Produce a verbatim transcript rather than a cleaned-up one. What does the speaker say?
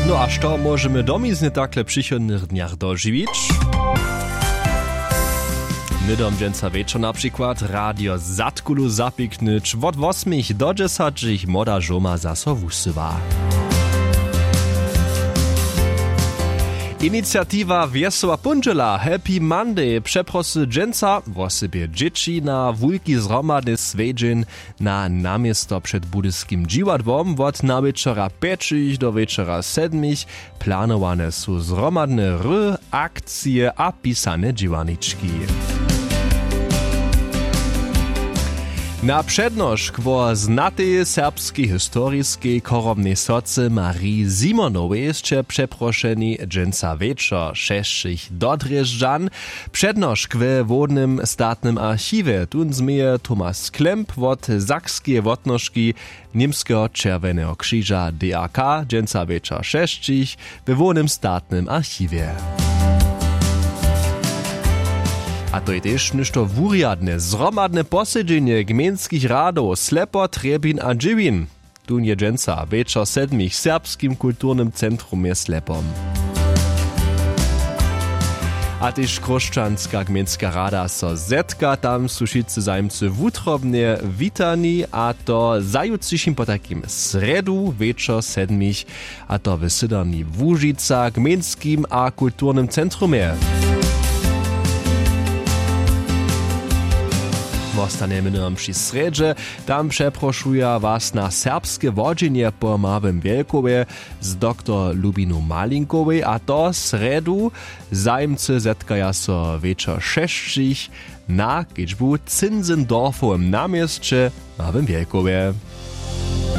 No a što móžemy domizny takle w přichodnych dnjach dožiwić? Hnydom dźensa wječor na přikład radio zadkulu zapiknyć wot wosmich do dźesaćich młoda žoma zaso wusyła. Iniciatiwa wjesoła póndźela happy monday přeprosy dźensa wosebje dźěći na wulki zhromadny swjedźeń na naměsto před budyskim dźiwadłom wot nawječora pjećich do wječora sedmich. Planowane su zhromadne hry, akcije a pisane dźěłarnički. Na přednošk wo znatej serbskej historiskej chorobnej socy marii simonowej sće přeprošeni dźensa wječor šesćich do drježdźan. Přednošk we hłownym statnym archiwje tón změje thomas klemp wot sakskeje wotnožki němskeho čerwjeneho křiža d a k dźensa wječor šesćich we hłownym statnym archiwje. A to je tež něšto wurjadne zhromadne posedźenje gmejnskich radow slepo trjebin a dźěłin. Tón je dźensa wječor sedmich w serbskim kulturnym centrumje slepom. A tež chróšćanska gmejnska rada so zetka tam su wšitcy zajimcy wutrobnje witani a to zajutřišim potajkim srjedu wječor sedmich. A to w sydomni łužica gmejnskim a kulturnym centrumje. Wostanjemy nowom při srjedźe. Tam přeprošuja was na serbske wodźenje po małym wjelkowje z doktor lubinu malinkowej a to srjedu. Zajimcy zetkaja so wječor šesćich na kedźbu w zinzendorfowym na měsće w małym wjelkowje.